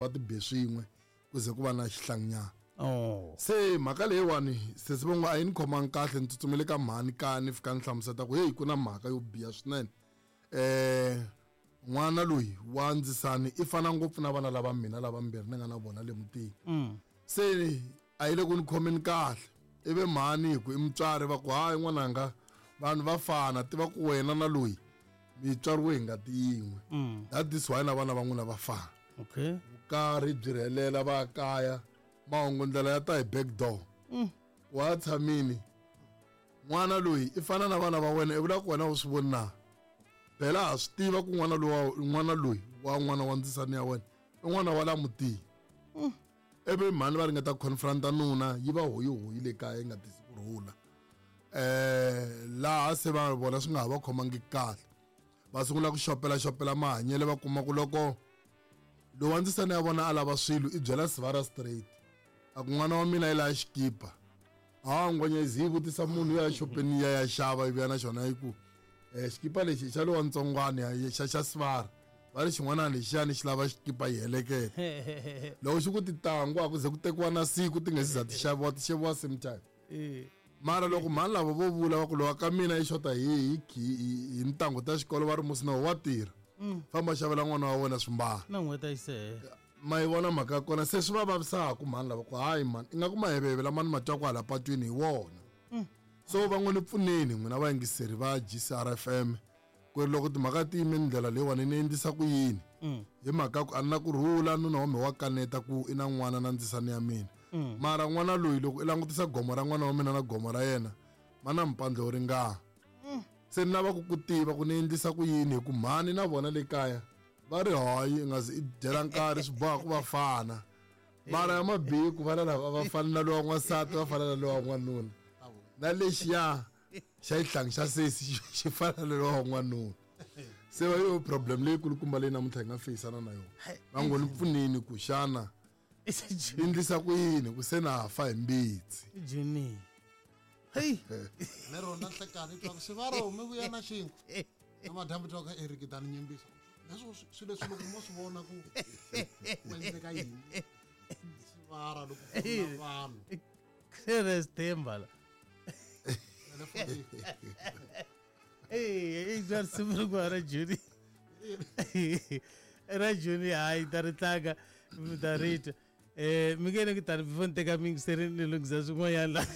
Va ti be swin'we ku ze ku va na xihlanginyana. Oh. Se mhaka leyiwani sesi va ngo a yi ni khomangi kahle, ni tsutsumele ka mhani kaya ni fika ni hlamuseta ku heyi ku na mhaka yo biha swinene. N'wana loyi wa ndzisani i fana ngopfu na vana lava mina lava mbirhi ni nga na vona le mutini. Se a yi le ku ni khomeni kahle, ivi mhani hi ku i mutswari va ku hayi n'wananga vanhu va fana, tiva ku wena na loyi mi tswariwe hi ngati yin'we. That is why na vana va n'wina va fana. Vukarhi byi rhelela va kaya, mahungu ndlela ya ta hi back door. Wa tshamini n'wana loyi i fana na vana va wena, i vula ku wena u swi voni na? Phela ha swi tiva ku n'wana loyi n'wana loyi wa n'wana wa ndzisani ya wena i n'wana wa la mutini. Ivi mhani va ringeta ku confronta nuna, yi va hoyihoyi le kaya yi nga tisi ku rhula. Laha se va vona swi nga ha va khomangi kahle, va sungula ku xopela xopela mahanyelo, va kuma ku loko lowa ndzisana ya vona a lava swilo i byela sivara straight, a ku n'wana wa mina i lava xikipa. Ha ngwenya yi vutisa munhu ya xopeni ya ya xava, yi vuya na xona yi ku xikipa lexi xa lowa ntsongwana ya xa sivara, va ri xin'wana lexiyani xi lava xikipa yi heleketa. Loko xi ku titangu a ku ze ku tekiwa na siku ti nga se za ti xaviwa, ti xaviwa same time. Mara loko mhani lava vo vula va ku lowa ka mina yi xota hi ntangu ta xikolo, va ri musi na wa tirha. Famba xavela n'wana wa wena swimbalo. Na n'hweti a yi se hela. Ma yi vona mhaka ya kona, se swi va vavisaka mhani lava ku hayi mhani, ingaku maheveheve lama ni ma twaku hala patwini hi wona. So va n'wi ni pfuneni n'wina vayingiseri va GCRFM ku ri loko timhaka ti yime ndlela leyiwani ni endlisa ku yini. Hi mhaka ku a ni na ku rhula, nuna wa mina wa kaneta ku i na n'wana na ndzisani ya mina. Mara n'wana loyi loko i langutisa gomo ra n'wana wa mina na gomo ra yena ma na mpandlo wo ringana. Se ni lava ku ku tiva ku ni endlisa ku yini, hi ku mhani na vona le kaya va ri hayi i nga zi i dyela nkarhi, swi boha ku va fana. Mara ya mabihi ku vana lava va fana na lowa n'wansati, va fana na lowa n'wanuna, na lexiya xa xihlangi xa sesi xi fana na lowa n'wanuna. Se va yo problem leyi kulukumba leyi namuntlha hi nga feyisana na yona. Va ngo ni pfuneni ku xana ni endlisa ku yini ku se na fa hi mbitsi. Jimmy. Hey. Lero na nhlekani twa ku sivaro mi vuya na xinkwa. Na madyambu twa ka Eric tani nyimbisa. Leswo swilo leswi loko mo swi vona ku ku endleka yini. Sivara loko ku na vanhu. Chris Themba la. Hey, i bya risimu rin'wana ra Juni. Ra Juni hayi ta ri tlanga mi ta ri twa. Mi nge ni ku tani before ni teka mixer ni lunghisa swin'wanyana la.